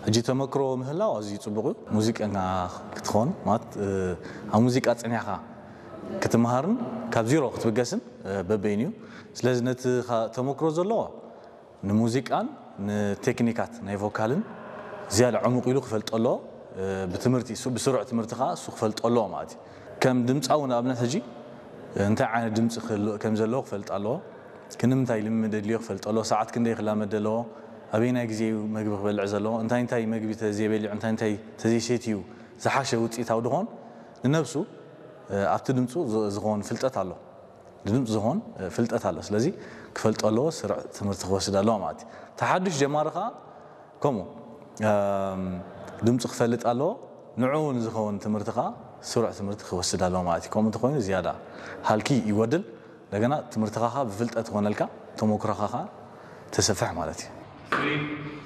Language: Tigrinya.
ሕጂ ተመክሮ ምህላው ኣዝዩ ጽቡቕ እዩ። ሙዚቀኛ ክትኾን ማለት ኣብ ሙዚቃ ጸኒሕካ ክትመሃርን ካብ ዜሮ ክትብገስን በበይን እዩ። ስለዚ ነቲ ተመክሮ ዘለዎ ንሙዚቃን ንቴክኒካት ናይ ቮካልን ዝያዳ ዕሙቕ ኢሉ ክፈልጦ ኣለዎ። ብትምህርቲ ብስሩዕ ትምህርቲ ከዓ እሱ ክፈልጦ ኣለዎ ማለት እዩ። ከም ድምፃዊ ንኣብነት ሕጂ እንታይ ዓይነት ድምፂ ከም ዘለዎ ክፈልጥ ኣለዎ። ክንምንታይ ልምምድ የድልዮ ክፈልጥ ኣለዎ። ሰዓት ክንደይ ክላመድ ኣለዎ። ኣበይናይ ግዜ እዩ መግቢ ክበልዕ ዘለዎ። እንታይ እንታይ መግቢ ተዘይበሊዑ እንታይ እንታይ ተዘይሰትዩ ዝሓሸ ውፅኢታዊ ድኾን ንነብሱ ኣብቲ ድምፁ ዝኸውን ፍልጠት ኣሎ። ድምፂ ዝኾን ፍልጠት ኣሎ። ስለዚ ክፈልጦ ኣለዎ። ስሩዕ ትምህርቲ ክወስድ ኣለዎ ማለት እዩ። ተሓድሽ ጀማሪ ከዓ ከምኡ ድምፂ ክፈልጥ ኣለዎ። ንዕኡ ንዝኸውን ትምህርቲ ከዓ ስሩዕ ትምህርቲ ክወስድ ኣለዎ ማለት እዩ። ከምኡ እንተኮይኑ ዝያዳ ሃልኪ ይጎድል። እንደገና ትምህርትኻ ከዓ ብፍልጠት ይኾነልካ፣ ተመክሮኻ ከዓ ተሰፍሕ ማለት እዩ።